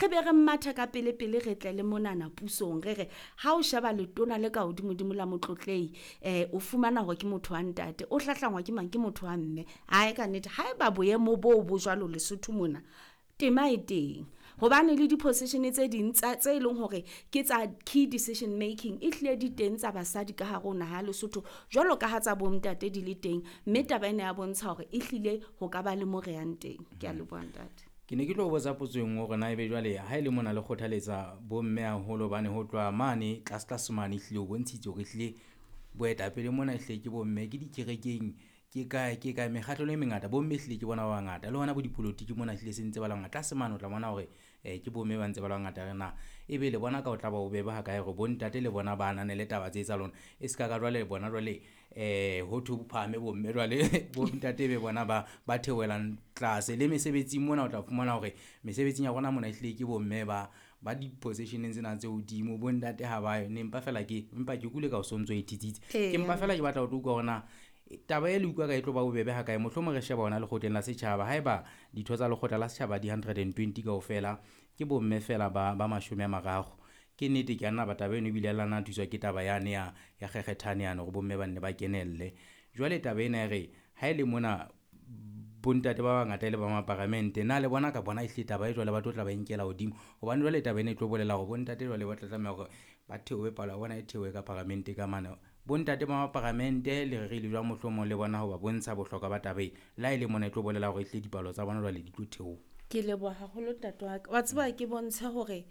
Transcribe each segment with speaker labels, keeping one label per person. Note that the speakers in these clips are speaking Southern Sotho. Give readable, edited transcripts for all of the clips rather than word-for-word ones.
Speaker 1: Re be re mathe ka pele pele, re tle le monana pusong, re re ha o sheba letona le ka hodimodimo la motlotlei, o fumana hore ke motho wa ntate, o hlahlangwa ke mang? Ke motho wa mme. Ae, ka nnete, haeba boemo boo bo jwalo Lesotho mona, tema e teng, hobane le di-position tse ding tse e leng hore ke tsa key decision making e hlile di teng tsa basadi ka hare ho naha ya Lesotho, jwalo ka ha tsa bontate di le teng. Mme taba ena ya bontsha hore e hlile ho ka ba le mo re yang teng. Ke a leboha, ntate.
Speaker 2: Ke ne ke tlo botsa potso e nngwe hore na ebe jwale ha e le mona le kgothaletsa bomme haholo, hobane ho tloha mane tlase tlase mane ehlile o bontshitse hore ehlile boetapele mona ehlile ke bomme, ke dikerekeng, ke kae ke kae, mekgahlelo e mengata bomme ehlile ke bona ba bangata. Le hona bo dipolotiki mona ehlile se ntse ba le bangata. Tlase mane o tla bona hore ke bomme ba ntse ba le bangata re na. Ebe le bona ka ho tla ba bobebe ha kae hore bontate le bona ba ananele taba tse tsa lona? E se ka ka jwale bona jwale ho thwe ho phahame bomme jwale bontate e be bona ba theohelang tlase. Le mesebetsing mona o tla fumana hore mesebetsing ya rona mona ehlile ke bomme ba di-position-eng tsena tse hodimo, bontate ha ba yo. Ne mpa feela ke empa ke utlwile ka o sontso e thitsitse. Ke mpa feela ke batla ho tlo utlwa hore na taba e le utlwa ka e tlo ba bobebe ha kae? Mohlomong re sheba hona lekgotleng la setjhaba. Haeba ditho tsa lekgotla la setjhaba di 120 kaofela, ke bomme feela ba 30. Ke nnete ke a nna ba taba eno ebile la nna thuswa ke taba yane ya kgekgethane yane hore bomme ba nne ba kenelle. Jwale taba ena e re ha e le mona bontate ba bangata e le ba maparamente, na le bona ka bona ehlile taba e jwale ba tlo tla ba e nkela hodimo? Hobane jwale taba ena e tlo bolela hore bontate jwale ba tla tlameha hore ba theohe, palo ya bona e theohe ka paramente ka mane. Bontate ba maparamente le rerile jwang mohlomong le bona ho ba bontsha bohlokwa ba taba e? Le ha e le mona e tlo bolela hore ehlile dipalo tsa bona jwale di tlo theoha.
Speaker 1: Ke leboha haholo, ntate wa ka. Wa tseba, ke bontshe hore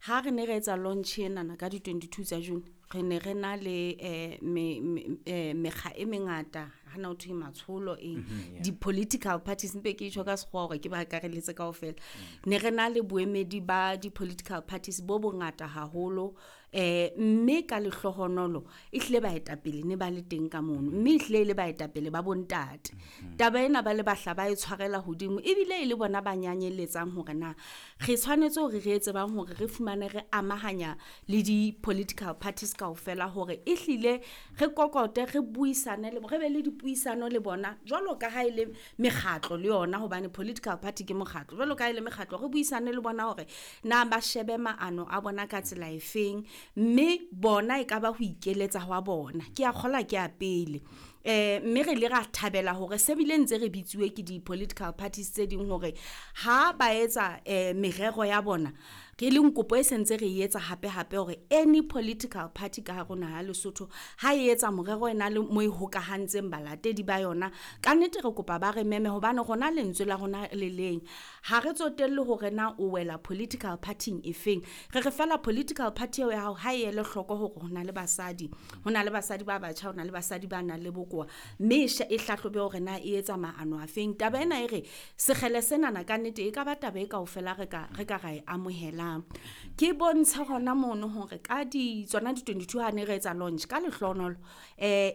Speaker 1: ha re ne re etsa launch enana ka di-22 tsa June, re ne re na le mekga e mengata, hana ho thwe matsholo eng, di-political parties, mpe ke tjho ka sekgowa hore ke ba akarelletse kaofela. Ne re na le boemedi ba di-political parties bo bongata haholo, mme ka lehlohonolo e hlile baetapele ne ba le teng ka mono, mme e hlile e le baetapele ba bontate. Taba ena ba le bahla ba e tshwarela hodimo, ebile e le bona ba nyanyeletsang hore na re tshwanetse hore re etse bang hore re fumane re amahanya le di-political parties kaofela, hore e hlile re kokote, re buisane le re be le dipuisano le bona jwalo ka ha e le mekgatlo le yona, hobane political party ke mokgatlo. Jwalo ka ha e le mekgatlo, re buisane le bona hore na ba shebe maano a bona ka tsela efeng, mme bona e ka ba ho ikeletsa hwa bona. Ke a kgola ke a pele. Mme re ile ra thabela hore se bile ntse re bitsuwe ke di-political parties tse ding hore ha ba etsa merero ya bona, re leng kopo e sentse re e etsa hape hape hore any political party ka hare ho naha ya Lesotho ha e etsa morero e na le mo e hokahantseng balatedi ba yona, ka nnete re kopa ba re meme, hobane rona lentswe la rona le leng. Ha re tsotelle hore na o wela political party-ing e feng, re re fela political party eo ya hao ha e ele hloko hore ho na le basadi, ho na le basadi ba batjha, ho na le basadi ba nang le bokowa, mme e hlahlobe hore na e etsa maano a feng. Taba ena e re sekgele senana ka nnete e ka ba taba e kaofela re ka ra e amohelang. Ke bontshe hona mono hore ka di tsona di-22 ha ne re etsa launch, ka lehlohonolo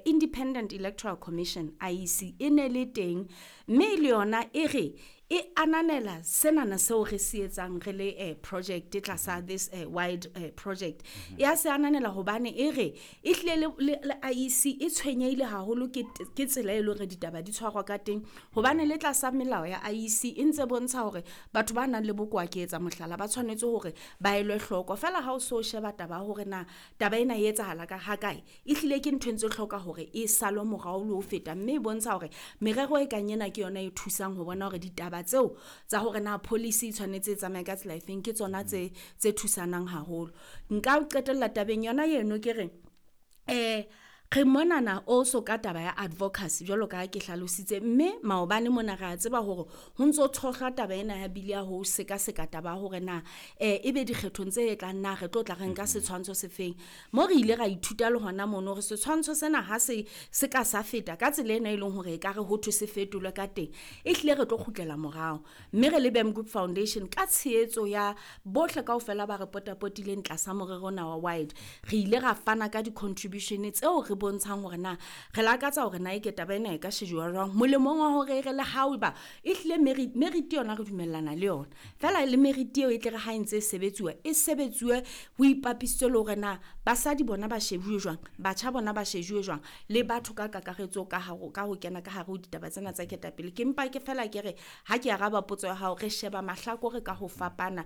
Speaker 1: Independent Electoral Commission, IEC, e ne le teng, mme le yona e re e ananela senana seo re se etsang re le project tlasa this wide project. Ya se ananela hobane e re e hlile le IEC e tshwenyehile haholo ke tsela e leng hore ditaba di tshwarwa ka teng, hobane le tlasa melao ya IEC e ntse bontsha hore batho ba nang le bokowa, ke etsa mohlala, ba tshwanetse hore ba elwe hloko. Feela ha o so sheba taba ya hore na taba ena e etsahala ka ha kae, e hlile ke ntho e ntse hloka hore e salwe morao le ho feta, mme e bontsha hore merero e kang ena ke yona e thusang ho bona hore ditaba tseo tsa hore na policy e tshwanetse e tsamaye ka tsela efeng ke tsona tse thusanang haholo. Nka qetella tabeng yona eno ke re re monana also ka taba ya advocacy, jwalo ka ha ke hlalositse, mme maobane mona re a tseba hore ho ntso tshohlwa taba ena ya bili ya ho sekaseka taba ya hore na ebe dikgethong tse tlang na re tlo tla re nka setshwantsho se feng. Mo re ile ra ithuta le hona mono hore setshwantsho sena ha se se ka sa feta ka tsela ena e leng hore e ka re ho thwe se fetolwe ka teng, e hlile re tlo kgutlela morao. Mme re le Bam Group Foundation, ka tshehetso ya bohle kaofela ba re potapotileng tlasa morero ona wa wide, re ile ra fana ka di-contribution tseo re bontshang hore na re lakatsa hore na eke taba ena e ka shejuwa jwang molemong wa hore re le haeba e hlile merit yona re dumellana le yona fela, le merit eo e tle re ha e ntse e sebetsuwa, e sebetsuwe ho ipapisitswe le hore na basadi bona ba shebuwe jwang, batjha bona ba shejuwe jwang, le batho ka kakaretso ka ho kena ka hare ho ditaba tsena tsa ketapele. Ke mpa ke fela ke re ha ke araba potso ya hao, re sheba mahlakore ka ho fapana.